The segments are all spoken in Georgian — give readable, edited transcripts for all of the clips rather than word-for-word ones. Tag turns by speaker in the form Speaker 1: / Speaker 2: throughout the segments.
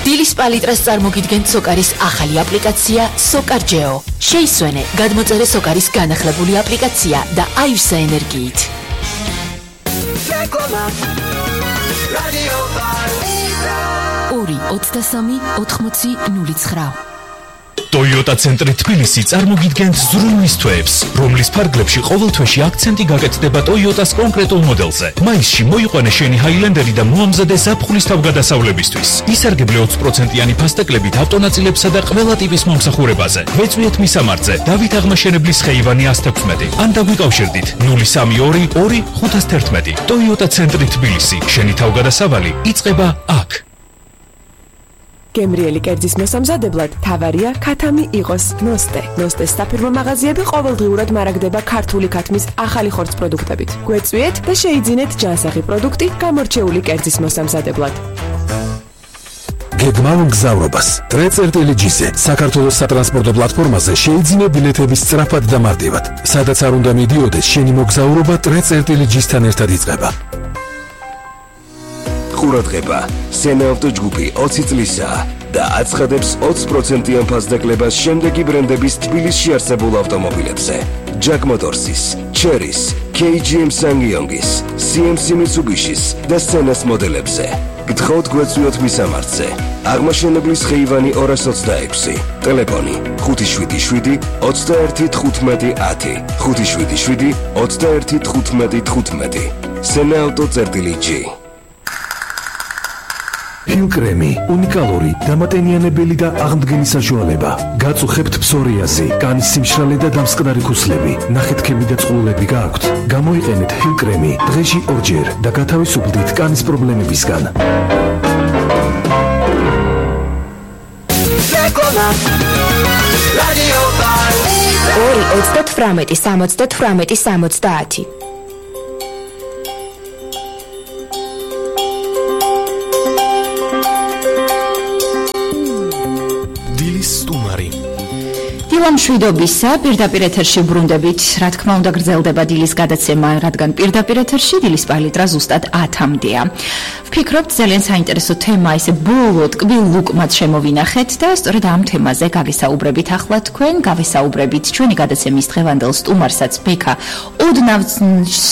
Speaker 1: დილის პალიტრას წარმოგიდგენთ სოკარის ახალი აპლიკაცია SOCAR-GEO. შეისვენე გადმოწერე სოკარის განახლებული აპლიკაცია და აივსე ენერგიით. ორი 23 80 09.
Speaker 2: Toyota ცენტრი თბილისი წარმოგიდგენთ ზრუნვის თვეებს, რომლის ფარგლებში ყოველ თვეში აქცენტი გაკეთდება Toyota-ს კონკრეტულ მოდელზე. მაისში მოიყვანე შენი Highlander-ი და მოამზადე ზაფხულის თავგადასავლებისთვის. ისარგებლე 20%-იანი ფასტეკლებით ავტონაწილებსა და ყველა ტიპის მომსახურებაზე. ვეწვიეთ მისამართზე, დავით აღმაშენებლის ხეივანი 116. ან დაგვიკავშირდით 032 2 511. Toyota ცენტრი თბილისი. შენი თავგადასავალი იწყება აქ.
Speaker 3: გემრიელი კერძის მოსამზადებლად თავარია ქათამი იყოს ნოსტე. ნოსტეს საფირმო მაღაზიები ყოველდღიურად მარაგდება ქართული ქათმის ახალი ხორცს პროდუქტებით. გვეწვიეთ და შეიძინეთ ჯანსაღი პროდუქტი გამორჩეული კერძის მოსამზადებლად.
Speaker 4: გეგმავ მგზავრობას ტრეწერტელეჯიზე საქართველოს სატრანსპორტო პლატფორმაზე შეიძინე ბილეთების სწრაფად და მარტივად. სადაც არ უნდა მიდიოდეს, შენი მოგზაურობა ტრეწერტელეჯისთან ერთად იწყება.
Speaker 5: ყურადღება, სენაავტო ჯგუფი 20 წლისაა და აცხადებს 20%-იან ფასდაკლებას შემდეგი ბრენდების თბილისში არსებულ ავტომობილებზე. Jack Motors-ის, Chery-ის, KGM SsangYong-ის, CMC Mitsubishi-ის და Sena-ს მოდელებზე. გთხოვთ გვეწვიოთ მისამართზე. აღმაშენებლის ხეივანი 226. ტელეფონი 577 21 15 10 577 21 15 15. Sena-auto.g.
Speaker 4: ჰილკრემი უნიკალური დამატენიანებელი და აღმდგენი საშუალება. გაწუხებთ ფსორიაზი, კანის სიმშრალე და დამსკნარი ქუსლები, ნახეთქები და წყლულები გააქვთ. გამოიყენეთ ჰილკრემი დღეში 2 ჯერ და გათავისუფლდით კანის პრობლემებისგან.
Speaker 6: ორი 38 78 70.
Speaker 7: მშვიდობისა, პირდაპირ ეთერში ბრუნდებით, რა თქმა უნდა გრძელდება დილის გადაცემა, რადგან პირდაპირ ეთერში დილის პალიტრა ზუსტად 10-მდეა. ვფიქრობთ, ძალიან საინტერესო თემა, ისე ბოლო ტკბილ ლუკმად შემოვინახეთ და სწორედ ამ თემაზე გავესაუბრებით ახლა თქვენ, გავესაუბრებით ჩვენი გადაცემის დღევანდელ სტუმარსაც ბექა ოდნავ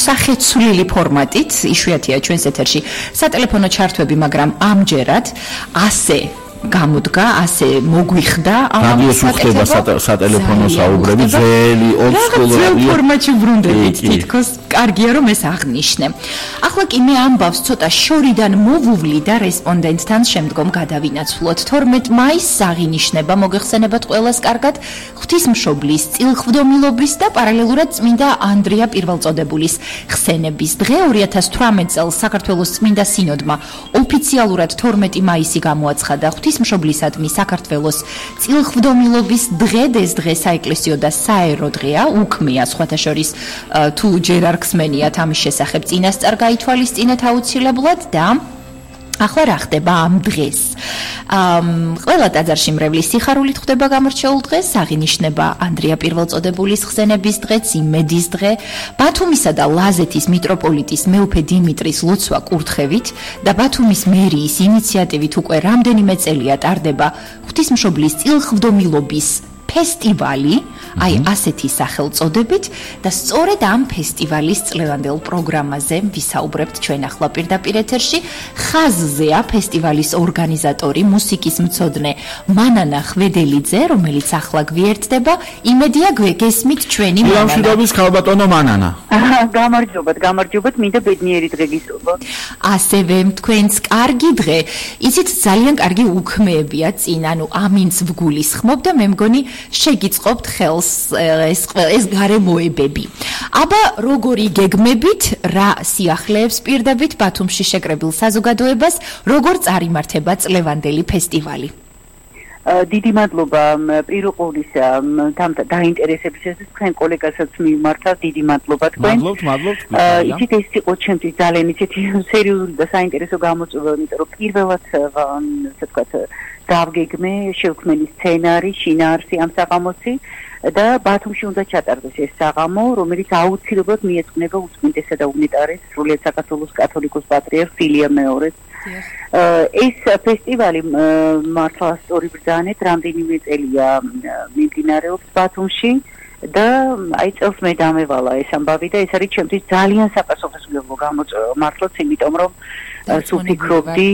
Speaker 7: სახეცვლილი ფორმატით, იშვიათია ჩვენს ეთერში სატელეფონო ჩართვები, მაგრამ ამჯერად ასე გამოდგა, ასე მოგვიხდა
Speaker 8: ამ სატელეფონო საუბრები ძველი
Speaker 7: ოლდსკულ ფორმატში ბრუნდებით, თითქოს კარგია რომ ეს აღნიშნე. ახლა კი მე ამბავს ცოტა შორიდან მოვუვლი და რესპონდენტთან შემდგომ გადავინაცვლოთ. 12 მაისს აღინიშნება, მოგეხსენებათ ყველას კარგად, ღვთისმშობლის, წილხვდომილობის და პარალელურად წმინდა ანდრია პირველწოდებულის ხსენების დღე. 2018 წელს საქართველოს წმინდა სინოდმა ოფიციალურად 12 მაისი გამოაცხადა ღვთისმშობლისადმი საქართველოს წილხვდომილობის დღე. ეს დღე საეკლესიო და საერო დღეა, უქმია სხვათა შორის თუ ჯერ არ ხსმენიათ ამის შესახებ წინასწარ გაითვალისწინეთ აუცილებლად და ახლა რა ხდება ამ დღეს? ყველა ტაძარში მრევლის სიხარულით ხდება გამორჩეულ დღეს, აღინიშნება ანდრია პირველწოდებულის ხსენების დღეც, იმედის დღე, ბათუმისა და ლაზეთის მიტროპოლიტის მეუფე დიმიტრის ლოცვა კურთხევით და ბათუმის მერიის ინიციატივით უკვე რამდენიმე წელია ტარდება ღვთისმშობლის წილხვდომილობის ფესტივალი, აი ასეთი სახელწოდებით და სწორედ ამ ფესტივალის წლევანდელ პროგრამაზე ვისაუბრებთ ჩვენ ახლა პირდაპირ ეთერში. ხაზზეა ფესტივალის ორგანიზატორი, მუსიკის მცოდნე მანანა ხვედელიძე, რომელიც ახლა გვიერთდება. იმედია გესმით ჩვენი მანანა.
Speaker 8: მშვიდობის ქალბატონო მანანა.
Speaker 9: გამარჯობათ, მინდა ბედნიერი დღე გისურვოთ.
Speaker 7: ასევე თქვენს კარგი დღე. იცით, ძალიან კარგი უქმეებია წინ, ანუ ამინც ვგულისხმობ და მე მგონი შეგიწყობთ ხელს ეს გარემოებები. აბა როგორი გეგმებით, რა სიახლეებს პირდებით ბათუმში შეკრებილ საზოგადოებას, როგორ წარიმართება წლევანდელი ფესტივალი?
Speaker 9: დიდი მადლობა პირუყურისა დაინტერესებისას, თქვენ კოლეგასაც მიმართავთ, დიდი მადლობა თქვენ.
Speaker 8: მადლობთ.
Speaker 9: იცით, ეს იყო ჩემთვის ძალიან ისეთი სერიოზული და საინტერესო გამოწვევა, იმიტომ რომ პირველად ასე ვთქვათ დავგეგმე შევქმენი სცენარი, შინაარსი ამ საღამოსი და ბათუმში უნდა ჩატარდეს ეს საღამო, რომელიც აუცილებლად მიეძღვნება უწმინდესა და უნეტარეს სრულიად საქართველოს კათოლიკოს პატრიარქ ილია მეორეს ეს ფესტივალი მართლა სწორიბრძანეთ რამდენიმე წელია მიმდინარეობს ბათუმში და აი წელს მე დამევალა ეს ამბავი და ეს არის ჩემთვის ძალიან საპასუხისმგებლო გამოწვევა მართლაც იმიტომ რომ სულ ფიქრობდი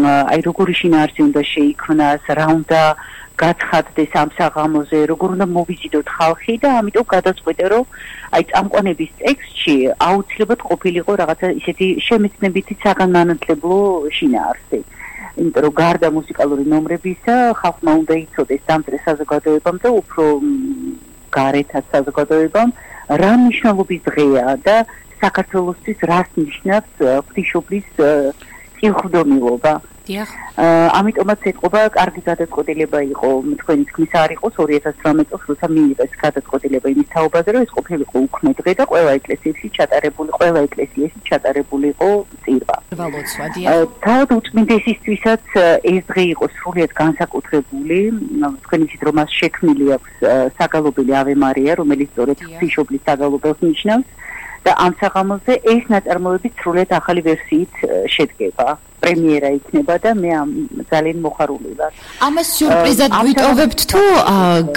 Speaker 9: აი როგორი შინაარსი უნდა შეიქმნას რა უნდა გაცხადდეს ამ საღამოზე როგორ უნდა მოვიზიდოთ ხალხი და ამიტომ გადაწყვიტე რომ აი წამყვანების ტექსტში აუცილებლად ყოფილიყო რაღაცა ისეთი შემეცნებითი საგანმანათლებლო შინაარსი იმიტომ რომ გარდა მუსიკალური ნომრებისა ხალხმა უნდა იცოდეს დამწრე საზოგადოებამ და უფრო გარეთაც საზოგადოებამ რა მნიშვნელობის დღეა და საქართველოსთვის რას ნიშნავს ღვთისმშობლის წილხვდომილობა ამიტომაც ეთყობა კარგი გადაწყვეტილება იყო თქვენი თქმის არ იყოს 2018 წელს როცა მიიღეს გადაწყვეტილება იმის თაობაზე რომ ეს ყოფილიყო უქმე დღე და ყველა ეკლესიაში ჩატარებული იყო წირვა თავად უწმინდესისთვისაც ეს დღე იყო სრულიად განსაკუთრებული თქვენ იცით რომ მას შექმნილი აქვს საგალობელი ავე მარია რომელიც სწორედ ღვთისმშობლის საგალობელს ნიშნავს და ამ საღამოზე ეს ნაწარმოები სრულიად ახალი ვერსიით შედგება პრემიერა იქნება და მე ძალიან მოხარული ვარ.
Speaker 7: ამას სიურპრიზად ვიტოვებთ თუ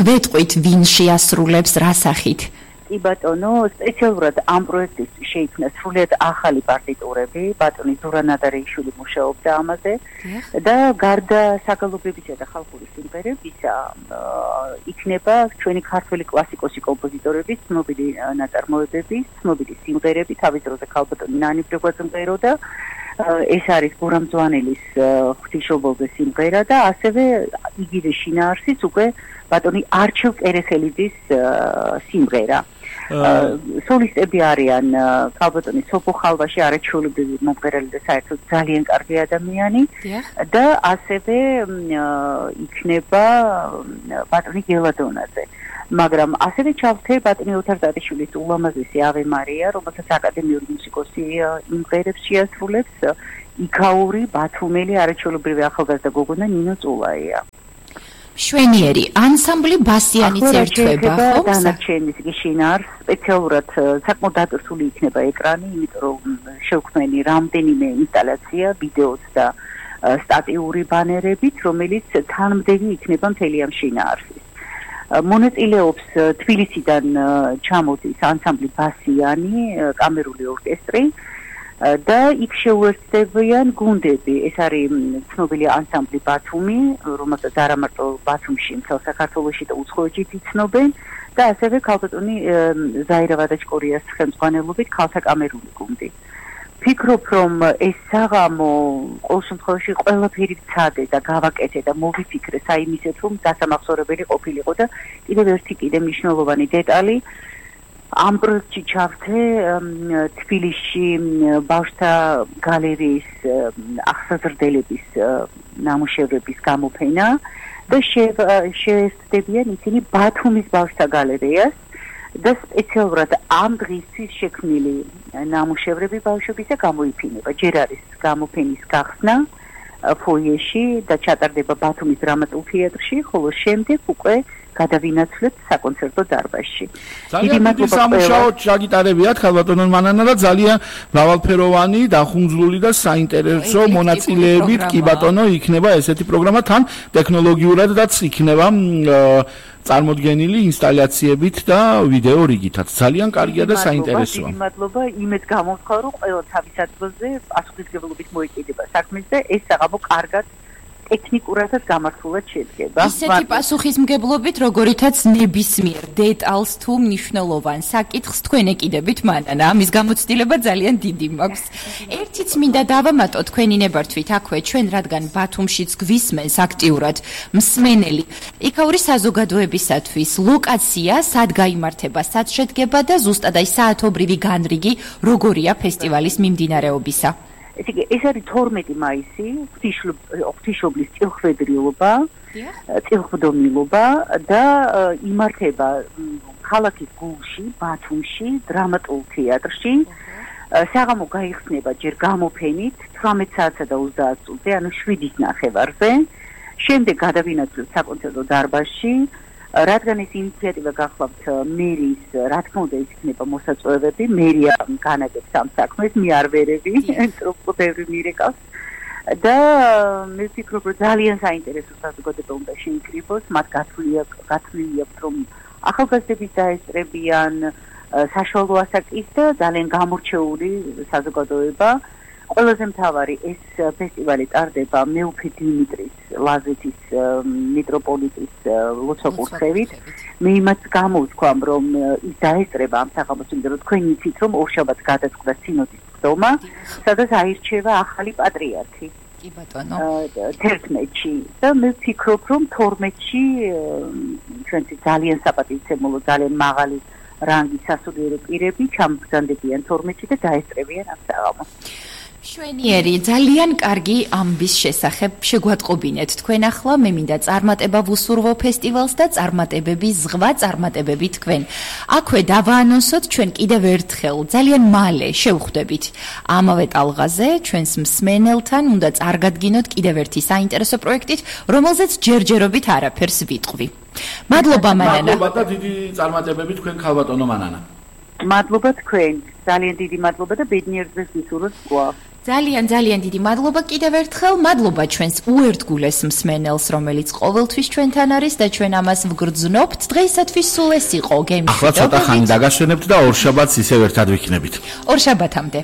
Speaker 7: გვეტყვით ვინ შეასრულებს რა სახით?
Speaker 9: კი ბატონო, სპეციალურად ამ პროექტისთვის შეიქმნა სრულიად ახალი პარტიტურები, ბატონი ზურა ნადარეიშვილი მუშაობდა ამაზე და გარდა საგალობებისა და ხალხური სიმღერებისა იქნება ჩვენი ქართველი კლასიკოსი კომპოზიტორების ცნობილი ნაწარმოებები, ცნობილი სიმღერები, თავის დროზე ქალბატონი ნანი ბრეგვაძე მღეროდა ეს არის გურამ ძვანელის ღვთისმშობელზე სიმღერა და ასევე იგივე შინაარსის უკვე ბატონი არჩილ კერეხელიძის სიმღერა. სოლისტები არიან ქალბატონი სოფო ხალვაში არაჩვეულებრივი მომღერალი და საერთოდ ძალიან კარგი ადამიანი და ასევე იქნება ბატონი გელადონაძე. მაგრამ ასევე ჩავთე ბატონი ოთარ დადიშვილის ულამაზესი ავე მარია, რომელსაც აკადემიური მუსიკოსი იმღერებს შეასრულებს იქაური ბათუმელი არაჩვეულებრივი ახალგაზრდა გოგონა ნინო წულაია.
Speaker 7: შვენიერი ანსამბლი ბასიანიც ერთვება ხო?
Speaker 9: დანარჩენის შინაარს სპეციალურად საკმაოდ დაწესული იქნება ეკრანი, იმიტომ რომ შევქმნილი რამდენიმე ინსტალაცია, ვიდეოც და სტატიური ბანერებით, რომელიც თანმდევი იქნება მთელი ამ შინაარსის. მონაწილეობს თბილისიდან ჩამოდის ანსამბლი ბასიანი, კამერული ორკესტრი და იქ შეუერთდებიან გუნდები. ეს არის ცნობილი ანსამბლი ბათუმი, რომელსაც არა მარტო ბათუმში, მთელ საქართველოში და უცხოეთშიც იცნობენ და ასევე ქალბატონი ზაირა ვადაჩკორიას ხელმძღვანელობით ქალთა კამერული გუნდი. ფიქრობ რომ ეს საღამო ყოველ შემთხვევაში ყველაფერი ვცადე და გავაკეთე და მოვიფიქრე საიმისეთ რომ დასამახსოვრებელი ყოფილიყო და კიდევ მნიშვნელოვანი დეტალი ამ პროექტში ჩავთე თბილისში ბავშვთა გალერეის აღსაზრდელების ნამუშევრების გამოფენა და შეესწრებიან ისინი ბათუმის ბავშვთა გალერეას და სპეციალურად ამ დღისთვის შექმნილი ნამუშევრები ბავშვებისა გამოიფინება. ჯერ არის გამოფენის გახსნა ფოიეში და ჩატარდება ბათუმის დრამატულ თეატრში, ხოლო შემდეგ უკვე გადავინაცვლებთ საკონცერტო დარბაზში.
Speaker 8: ძალიან დიდი სამუშაო ჩაგიტარებიათ ქალბატონო მანანა და ძალიან მრავალფეროვანი, დახუნძლული და საინტერესო მონაწილეებით კი ბატონო იქნება ესეთი პროგრამა თან ტექნოლოგიურადაც იქნება წარმოდგენილი ინსტალაციებით და ვიდეო რიგითაც. ძალიან კარგია და საინტერესოა.
Speaker 9: მადლობა, იმედ გამოვხარ, რომ ყველა თავის ადგილზე პასუხისმგებლობით მოეკიდება საქმეს და ეს საღამო კარგად ტექნიკურადაც გამართულად შედგება.
Speaker 7: ისეთი პასუხისმგებლობით, როგორითაც ნებისმიერ დეტალს თუ მნიშვნელოვან საკითხს თქვენ ეკიდებით მანანა. ამის გამოცდილება ძალიან დიდი მაქვს. ერთიც მინდა დავამატო თქვენი ნებართვით აქვე ჩვენ, რადგან ბათუმშიც გვისმენს აქტიურად მსმენელი. იქაური საზოგადოებისათვის ლოკაცია, სად გაიმართება, სად შედგება და ზუსტად აი საათობრივი განრიგი როგორია ფესტივალის მიმდინარეობისა.
Speaker 9: ეს არის 12 მაისი, ღვთისმშობლის წილხვედრილობა, წილხვდომილობა და იმართება ქალაქის გულში, ბათუმში, დრამატულ თეატრში. საღამო გაიხსნება ჯერ გამოფენით 18 საათსა და 30 წუთზე, ანუ 7:30-ზე. შემდეგ გადავინაცვლებთ საკონცერტო დარბაზში. რადგან ეს ინიციატივა გახლავთ მერის, რა თქმა უნდა იქნება მოსაწვევები, მერია განაგებს ამ საქმეს, მე არ ვერები, trop ბევრი მირეკავს. და მე ვფიქრობ, რომ ძალიან საინტერესო საზოგადოება უნდა შეიკრიბოს, მათ გათვლილი აქვს, რომ ახალგაზრდები დაესწრებიან საშუალო ასაკის და ძალიან გამორჩეული საზოგადოება. ყველაზე მთავარი ეს ფესტივალი ტარდება მეუფე დიმიტრის ლაზეთის მიტროპოლიტის ლოცვა-კურთხევით. მე იმას გამოვთქვამ, რომ ის დაესწრება ამ საღამოს, იმიტომ რომ თქვენ იცით, რომ ორშაბათს გადაწყდა სინოდის სხდომა, სადაც აირჩევა ახალი პატრიარქი.
Speaker 7: კი ბატონო.
Speaker 9: 11-ში და მე ვფიქრობ, რომ 12-ში ჩვენც ძალიან საპატივცემულო, ძალიან მაღალი რანგის სასულიერო პირები ჩამბრძანდებიან 12-ში და დაესწრებიან ამ საღამოს.
Speaker 7: შვენიერი, ძალიან კარგი ამბის შესახებ შეგვატყობინეთ თქვენ ახლა. მე მინდა წარმატება ვუსურვო ფესტივალს და წარმატებები, ზღვა წარმატებები თქვენ. აქვე დავაანონსოთ ჩვენ კიდევ ერთხელ, ძალიან მალე შევხვდებით ამავე ტალღაზე, ჩვენს მსმენელთან უნდა წარგადგინოთ კიდევ ერთი საინტერესო პროექტით, რომელზეც ჯერჯერობით არაფერს ვიტყვი. მადლობა მანანა.
Speaker 8: მადლობა და დიდი წარმატებები თქვენ ქალბატონო მანანა.
Speaker 9: მადლობა თქვენ, ძალიან დიდი მადლობა და ბედნიერ დღეს გისურვოთ თქვა.
Speaker 7: ძალიან დიდი მადლობა კიდევ ერთხელ. მადლობა ჩვენს უერთგულეს მსმენელს, რომელიც ყოველთვის ჩვენთან არის და ჩვენ ამას ვგრძნობთ. დღეისათვის სულ ეს იყო გემი.
Speaker 8: ახლა ცოტა ხანი დაგაშვენებთ და ორშაბათს ისევ ერთად ვიქნებით.
Speaker 7: ორშაბათამდე.